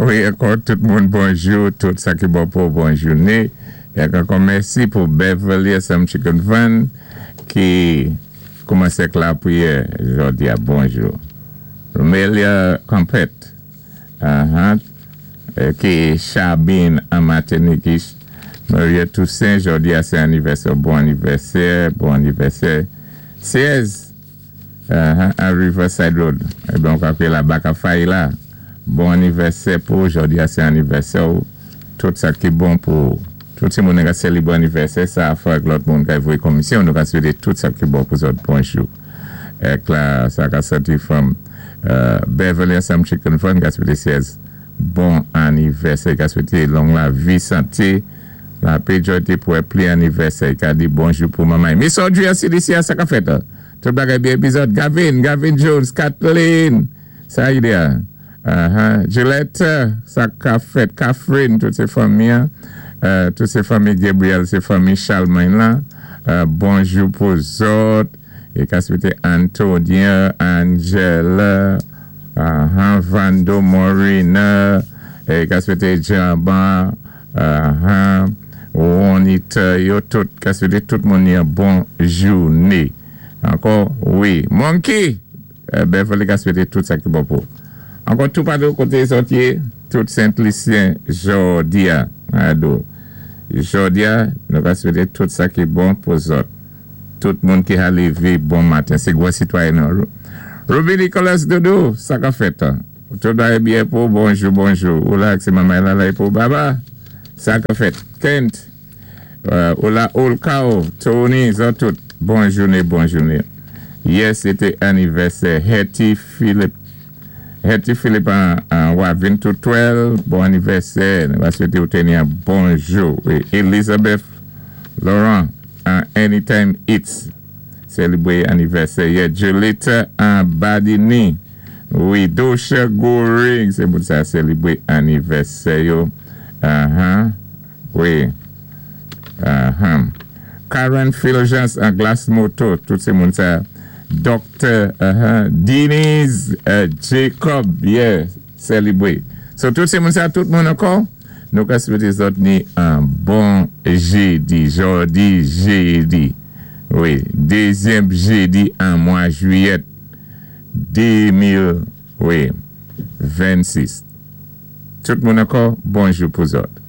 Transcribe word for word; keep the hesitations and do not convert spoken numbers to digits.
Wi, ankò tout moun bonjou, tout sa ki bon pou bon jouné. É ankò mèsi pou Beverly Some Chicken Van ki koumansé ak lapriyè jòdi a bonjou. Romelia Compet, uh-huh, ki Chabine an Matinik. Maria Toussaint, jòdi a sé anivèsè, bon anivèsè, bon anivèsè. sèz, uh-huh, an Riverside Road. Ében, on ka la baka fay la. Bon anivèsè pou jòdi a sé anivèsè ou tout sa ki bon pou tout si moun ka sélébwé anivèsè sa fwa ak lòt moun ka voyé komisyon nou ka swété tout sa ki bon pou zòt bonjou. Ek la sa ka sòti from uh, Beverly Some Chicken Fun ka swété sèz bon anivèsè ka swété long lavi santé lapè jòdi pou pli anivèsè ka di bonjou pou manman. Miss Audrey C D C sa ka fèt. Tout bagay byen épizòd Gavin, Gavin Jones, Kathleen, sa y a. Uh-huh. Gillette, sa ka fèt, Catherine, tout sé fanmi, uh, tout sé fanmi Gabriel, sé fanmi Charlemagne la. Uh, bonjou pou zòt. É ka swété Antonia, Angela, uh-huh, Vando Morina, é ka swété Jamba, uh-huh, Juanita, yo tout, ka swété tout moun yon bon jouné. Ankò, wi. Monkey, uh, Beverly ka swété tout sa ki bon pou. Ankò tout patou koté zòt yé, tout Sent-Lisyen jòdi a, ado. Jòdi a, nou ka swété tout sa ki bon pou zòt. Tout moun ki a lévé bon maten, sé gwo sitwayen nou. Ruby Nicholas Doudou, sa ka fèt. Tout bagay byen pou bonjou, bonjou. Ou la, sé manman la la pou baba. Sa ka fèt. Kent, uh, ou la Olkao, Tony, zòt tout. Bon jouné, bon jouné. Yè, sété anivèsè Hetty Philip. Hetty Philip an, an Wavin Toutwell, bon anivèsè. Nou va swété ou téni an bonjou. É Elizabeth Laurent an Anytime Eats, sélébwé anivèsè. Yè Julieta an Badini. Wi, Dosha Goring, sé moun sa sélébwé anivèsè yo. Uh-huh. Wi. Uh-huh. Karen Philgence an Glass Moto, tout sé moun sa. Doctor uh-huh, Denise uh, Jacob, yeah, sélébwé. So tout sé moun sa, tout moun ankò, nou ka swété zòt ni an bon jédi, jòdi jédi. Wi, dézyèm jédi an mwa jwiyèt de mil, wi, vennsis. Tout moun ankò, bonjou pou zòt.